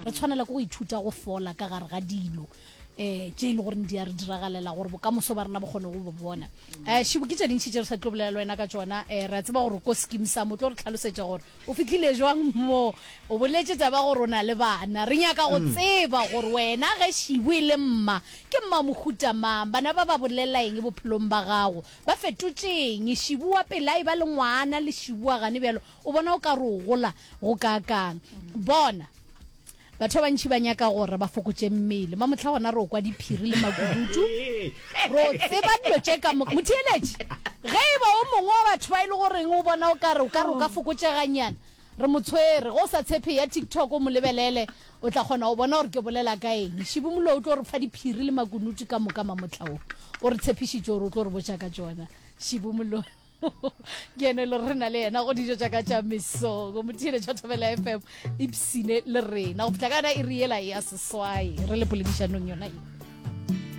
Re tshwanela ke go ithuta go fola ka gare ga dilo um tše e le goreng di a re diragalela gore bokamoso ba rena bo kgone go bo bona. Um Šibu, ke tše dintši tše re sa tlo bolela le wena ka tšona. Um re a tseba gore ko Skeem Saam o tlo re tlhalosetša gore o fihlile jwang mo. O boletše taba gore o na le bana. Re nyaka go tseba gore wena ge Šibu e le mma, ke mma mohuta mang? Bana ba ba bolela eng bophelong ba gago? Ba fetotše eng? Šibu wa pele a e ba le ngwana le Šibu wa gane bjalo, o bona o ka re o gola go kaakang? Bona! Batho ba bantši ba nyaka gore ba fokotše mmele. Mamohla gona re o kwa diphiri le makukutu. Re o tseba dilo tše ka moka. Motheeletši, ge e ba o mongwe wa batho ba e le goreng o bona o ka re o ka re o ka fokotšeganyana, re mo tshwere. Ge o sa tshepe, eya TikTok o mo lebelele, o tla kgona go bona gore ke bolela ka eng. Šibu Moloi o tlo re fa diphiri le makunutu ka moka mamohla wo. O re tshepišitše gore o tlo re botša ka tšona. Šibu Moloi. Ke ene le re na le yena go dijo tša ka tša mesong go motheeletša Thobela FM ipsine le rena go fihla ka yona iri yela ya seswai re le poledišanong yona ye.